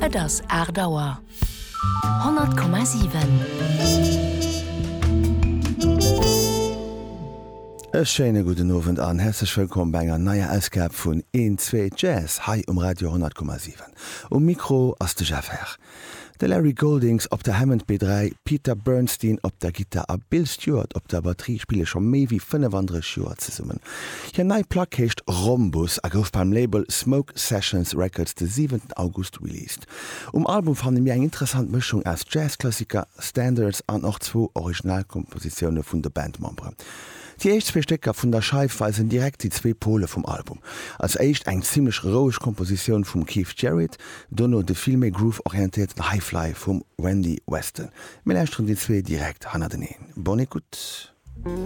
Et ass 8 Auer. 100,7. E schéine gudden Owend an häerzlech wëllkomm bei enger neier Ausgab vun Een, Zwee, Jazz hei um Radio 100,7. Um Mikro ass de Jeff Herr. De Larry Goldings op der Hammond B3, Peter Bernstein op der Gittar a Bill Stewart op der Batterie spille scho méi wéi 35 Joer zesummen. Hir nei Plack heescht Rhombus a gouf beim Label Smoke Sessions Records de 7 August released. Um Album fanne mir eng interessant Mëschung aus Jazz-Klassiker, Standards an och zwou Originalkompositioune vun de Bandmemberen. Déi éischt zwee Stécker vun der Scheif weisen direkt déi zwee Pole vum Album. Als éischt eng zimmlech roueg Kompositioun vum Keith Jarrett, Dono de vill méi groove-orientéierten High Fly vum Randy Weston. Mir lauschteren déi zwee direkt hannerteneen. Bonne écoute!